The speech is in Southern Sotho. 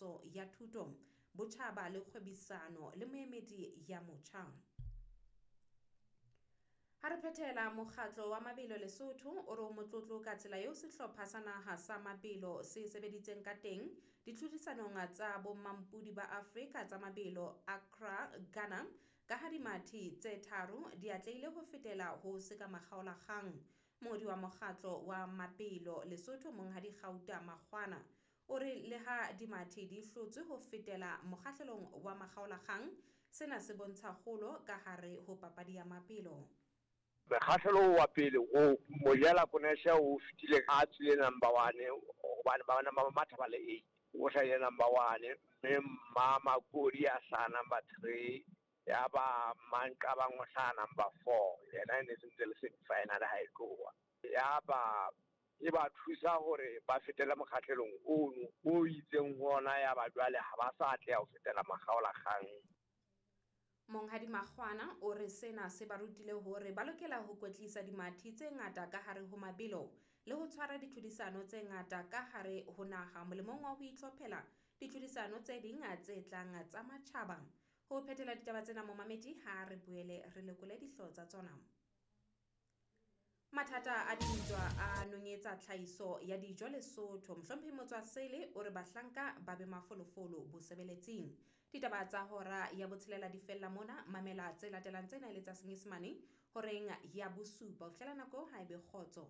Ntlafatso ya Thuto, Botjhaba le Kgwebisano le Moemedi ya Motjha. Ha re phethela mokgatlo wa mabelo Lesotho o re o motlotlo ka tsela eo sehlopha sa naha sa mabelo se sebeditseng ka teng ditlhodisanong tsa bommampudi ba Afrika tsa mabelo Accra, Ghana, ka ha dimathi tse tharo di atlehile ho fetela ho sekamakgaolakgang. Mongodi wa mokgatlo wa mabelo Lesotho Monghadi Gauta Makgwana o re leha dimathi di hlotswe ho fetela mokgahlelong wa makgaolakgang, sena se bontsha kgolo ka hare ho papadi ya mabelo. Mekgahlelo wa pele o Mojela Koneshe o fetile a tswile number 1 hobane ba bana ba matha ba le 8, o hlahile number 1, mme Mma Makodi a hlaha number 3, ya ba Manqabang o hlaha number 4, yena e ne se ntse le semi final ha e tloha. Ya ba e ba thusa hore ba fetele mokgahlelong ono o itseng ho ona, ya ba jwale ha ba sa atleha ho fetela makgaolakgang. Monghadi Makgwana o re sena se ba rutile hore ba lokela ho kwetlisa dimathi tse ngata ka hare ho mabelo le ho tshwara ditlhodisano tse ngata ka hare ho naha molemong wa ho itlhophela ditlhodisano tse ding tse tlang tsa matjhaba. Ho phethela ditaba tsena momamedi, ha re boele re lekole dihlooho tsa tsona. Mathata a dintwa a nonyetsa tlhahiso ya dijo Lesotho. Mohlomphehi Motswasele o re bahlanka ba be mafolofolo bosebeletsing. Ditaba tsa hora ya botshelela di fella mona. Mamela tse latelang tsena e le tsa Senyesemane horeng ya bosupa. Ho fihlela nako ha e be kgotso.